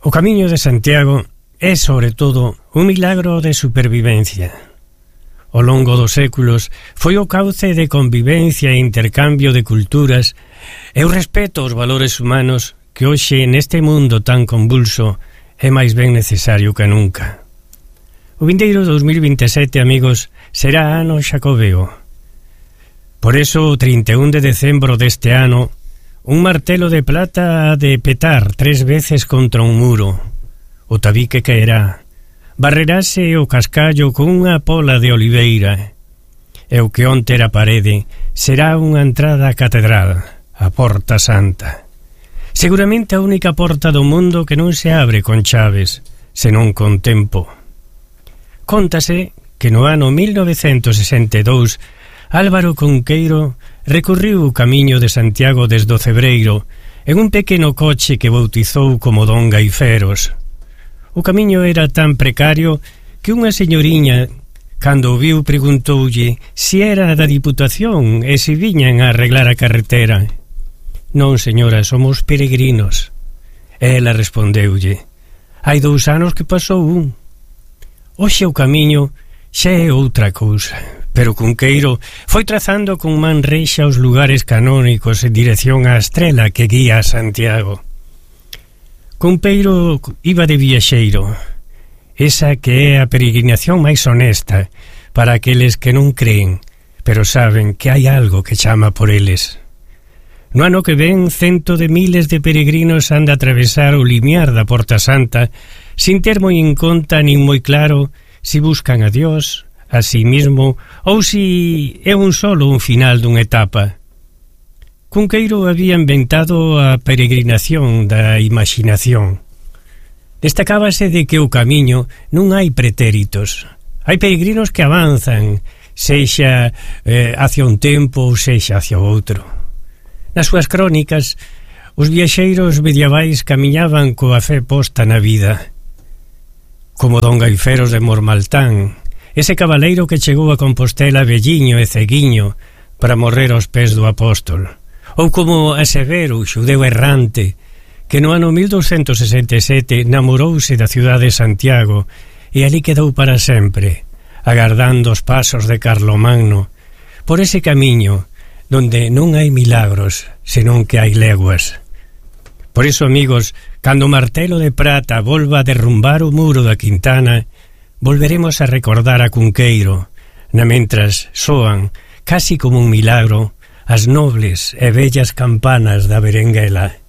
O Camiño de Santiago é, sobre todo, un milagro de supervivencia. Ao longo dos séculos foi o cauce de convivencia e intercambio de culturas e o respeto aos valores humanos que hoxe neste mundo tan convulso é máis ben necesario que nunca. O vindeiro 2027, amigos, será ano xacobeo. Por eso, o 31 de decembro deste ano, un martelo de plata ha de petar 3 veces contra un muro. O tabique caerá, barrerase o cascallo con unha pola de oliveira, e o que onte era parede será unha entrada á catedral, a Porta Santa. Seguramente a única porta do mundo que non se abre con chaves, senón con tempo. Cóntase que no ano 1962 Álvaro Cunqueiro recorriu o Camiño de Santiago desde o Cebreiro en un pequeno coche que bautizou como Don Gaiferos. O camiño era tan precario que unha señoriña, cando o viu, preguntoulle se era da Diputación e se viñan a arreglar a carretera. Non, señora, somos peregrinos. Ela respondeulle: hai 2 anos que pasou un. Hoxe o camiño xa é outra cousa, pero Cunqueiro foi trazando con man reixa os lugares canónicos en dirección á estrela que guía a Santiago. Cunqueiro iba de viaxeiro, esa que é a peregrinación máis honesta para aqueles que non creen, pero saben que hai algo que chama por eles. No ano que ven, 100 de miles de peregrinos han de atravesar o limiar da Porta Santa sin ter moi en conta nin moi claro si buscan a Dios, a sí mismo, ou si é un final dunha etapa. Cunqueiro había inventado a peregrinación da imaginación. Destacábase de que o camiño non hai pretéritos. Hai peregrinos que avanzan, sexa hacia un tempo ou sexa hacia outro. Nas súas crónicas, os viaxeiros medievais camiñaban coa fe posta na vida, como Don Gaiferos de Mormaltán, ese cabaleiro que chegou a Compostela velliño e ceguiño para morrer aos pés do apóstol, ou como a Severo, xudeu errante, que no ano 1267 namorouse da cidade de Santiago e ali quedou para sempre, agardando os pasos de Carlomagno, por ese camiño donde non hai milagros, senón que hai leguas. Por iso, amigos, cando o martelo de prata volva a derrumbar o muro da Quintana, volveremos a recordar a Cunqueiro, na mentras soan, casi como un milagro, as nobles e bellas campanas da Berenguela.